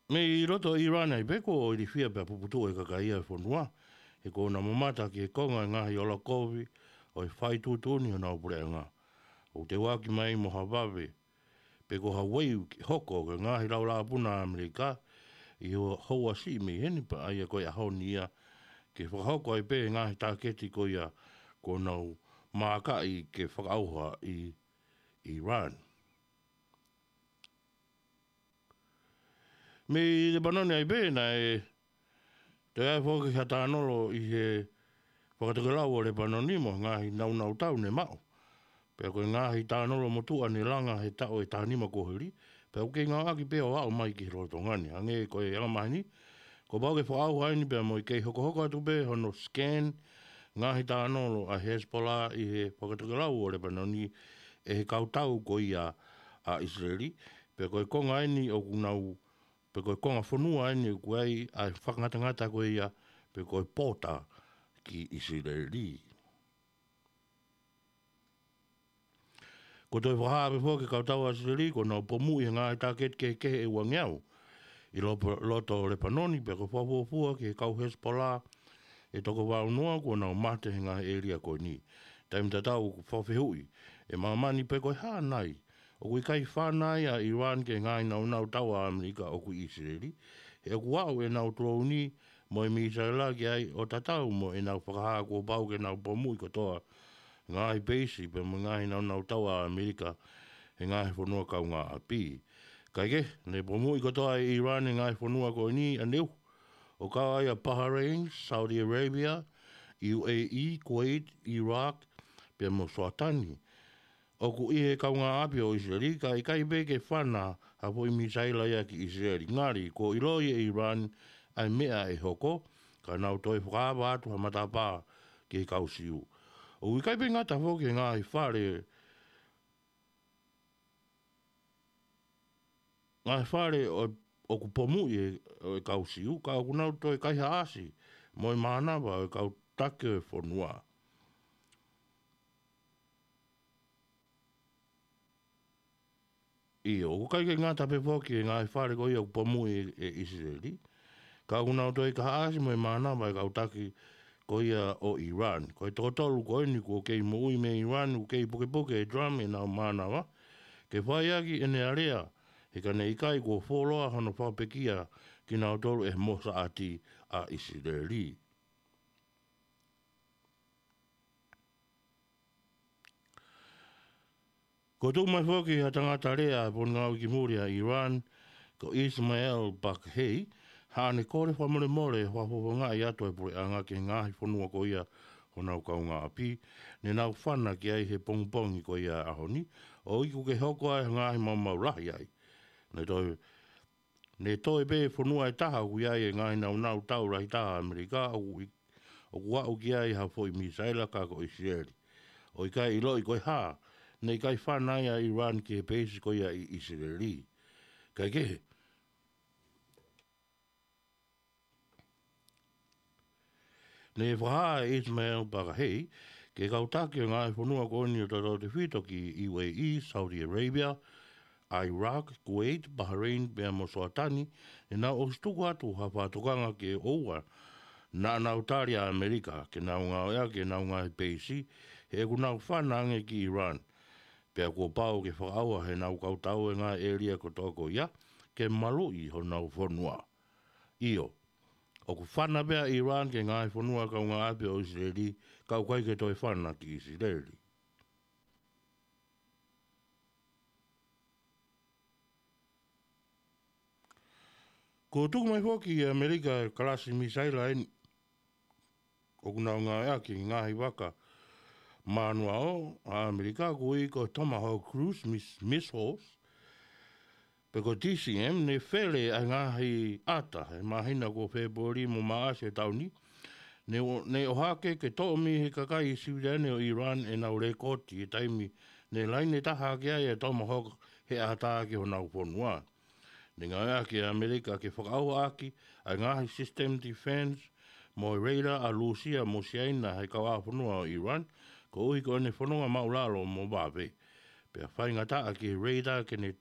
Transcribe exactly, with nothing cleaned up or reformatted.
Mei loto ʻIrani ai pē kuo ilifia pea puputuʻu ʻe he kakai ʻo e fonua, he kuo nau mamata ki he konga ʻo e ngaahi ola kovi ʻo e fai tuʻutuʻuni honau puleʻanga. ʻOku teuaki mai mo ha vave, pe ko ha uaifi ke hoko ki he ngaahi laulāpuna ʻa ʻAmelika, ʻi he houa siʻi mei heni pea ʻa ia ko e ʻaho ni ia, ke fakahoko ai pē ʻa e ngaahi tāketi ko ia kuo nau maakaʻi ke fakaʻauha ʻi ʻIrani. Mei Lepanoni ai pē naʻe toe ʻi ai foki ha tānolo ʻi he fakatokelau ʻo Lepanoni mo e ngaahi nāunau tau ne maʻu. Pea ko e ngaahi tānolo motuʻa ne langa he taʻu ʻe taha nima kuo hili, pea ʻoku kei ngāueʻaki pē ʻo aʻu mai ki he lolotonga ni. Hangē ko e angamaheni, kuo pau ke fakaʻauha eni pea mo e kei hokohoko atu pē hono scan ngaahi tānolo ʻa Hezbollah ʻi he fakatokelau ʻo Lepanoni ʻe he kau tau ko ia ʻa ʻIsileli, pea ko e konga eni ʻoku nau, pea ko e konga fonua eni ʻoku ʻi ai ʻa e fakangatangata ko ia, pea ko e pota ki ʻIsileli. Kuo toe fakahā pē foki ʻe he kau tau ʻa ʻIsileli, kuo nau pomuʻi ʻa e ngaahi tāketi kehekehe ʻe uangeau ʻi lo-, loto Lepanoni, pea kuo fakafuofua ki he kau Hezbollah ʻe toko valu noa kuo nau mate he ngaahi ʻēlia ko eni. Taimi tatau ʻoku fakafehuʻi ʻe māmani pe ko e hā nai ʻoku ʻikai fana ai ʻa ʻIrani ki he ngaahi nāunau tau ʻa ʻAmelika ʻoku ʻi ʻIsileli, he ʻoku aʻu ʻenau tolouni mo e mīsaila ki ai ʻo tatau mo ʻenau fakahā kuo pau ke nau pomuʻi kotoa ngaahi peisi pea mo e ngaahi nāunau tau ʻa ʻAmelika he ngaahi fonua kaungāʻapi. Kaekehe, ne pomuʻi kotoa ʻe ʻIrani e ngaahi fonua ko eni ʻaneuhu, ʻo kau ai ʻa Bahrain, Saudi Arabia, U A E, Kuwait, Iraq, pea mo Suatani. ʻOku ʻi he kaungāʻapi ʻo ʻIsileli, ka ʻikai pē ke fana ha foʻi mīsaila ia ki ʻIsileli. Ngali, kuo ʻiloʻi ʻe ʻIrani ʻa e meʻa ʻe hoko, ka nau toe fakaava atu ha matapā ki he kau Siu. ʻOku ʻikai pē ngata foki he ngaahi fale, ngaahi fale ʻo, ʻoku pomuʻi ʻe, ʻe he kau Siu, ka ʻoku nau toe kaihaʻasi mo e mānava ʻo e kau taki ʻo e fonua. ʻIo, ʻoku ʻikai ke ngata pē foki he ngaahi fale ko ia ʻoku pomuʻi ʻe, ʻe ʻIsileli, ka ʻoku nau toe kaihaʻasi mo e mānava ʻo e kau taki ko ia ʻo ʻIrani. Ko e toko tolu ko eni kuo kei moʻui mei ʻIrani, ʻoku kei pukepuke ʻe Trump ʻenau mānava ke fai ʻaki ʻene alea, he ka ne ʻikai kuo fuoloa hono fakapekia kinautolu ʻe he Mosaʻati ʻa ʻIsileli. Kuo tuku mai foki ha tangata lea ʻa e Potungāue ki Muli ʻa ʻIrani, ko Ismail Baqai, haʻane kole fakamolemole he fakafofongaʻi atu ʻa e puleʻanga ki he ngaahi fonua ko ia honau kaungāʻapi ne nau fana ki ai he pongipongi ko ia ʻo e ʻaho ni, ʻo iku ke hoko ai ha ngaahi maumau lahi ai. Ne toe Ne toe pē fonua ʻe taha ʻoku ʻi ai e ngaahi nāunau tau lahi taha ʻa ʻAmelika ʻoku ʻi-, ʻoku aʻu ki ai ha foʻi mīsaila ka ko ʻIsileli. ʻOku ʻikai ʻiloʻi ko e hā ne ʻikai fana ai ʻa ʻIrani ki he peisi ko ia ʻi ʻIsileli. Kaekehe, ne fakahā ʻe Ismail Baqai ki he kau taki ʻo e ngaahi fonua ko eni ʻo tautautefito ki U A E, Saudi Arabia, Iraq, Kuwait, Bahrain, pea mo Suatani, ne nau ʻosi tuku atu ha fakatokanga ke ʻoua naʻa nau tali ʻa ʻAmelika ke nau ngāueʻaki ʻenau ngaahi peisi, he ʻoku nau fana ange ki ʻIrani. Pea kuo pau ke fakaʻauha ʻe heʻenau kau tau e ngaahi ʻēlia kotoa ko ia, ke maluʻi honau fonua. ʻIo, ʻoku fana pē ʻa ʻIrani ki he ngaahi fonua kaungāʻapi ʻo ʻIsileli, ka ʻoku ʻikai ke toe fana ki ʻIsileli. Kuo tuku mai foki ʻe ʻAmelika e kalasi mīsaila eni ʻoku nau ngāueʻaki he ngaahi vaka manuao ʻa ʻAmelika, ʻoku ui ko e Tomahawk Cruise Miss-, Missiles, pe ko e T C M, ne fele ʻa e ngaahi ʻata he māhina ko Fēpueli mo Māʻasi ʻo e taʻu ni. Ne ʻo-, ne ʻohake ke toʻo mei he kakai siviliane ʻo ʻIrani ʻenau lekooti he taimi ne laine taha ʻaki ai e Tomahawk he ʻata ki honau fonua. Ne ngāueʻaki ʻe ʻAmelika ke fakaʻauha ʻaki ʻa e ngaahi system defense mo e radar ʻa Lūsia mo Siaina he kauʻāfonua ʻo ʻIrani, koeʻuhi ko ʻene fononga māʻulalo mo vave. Pea faingataʻa ki he radar ke ne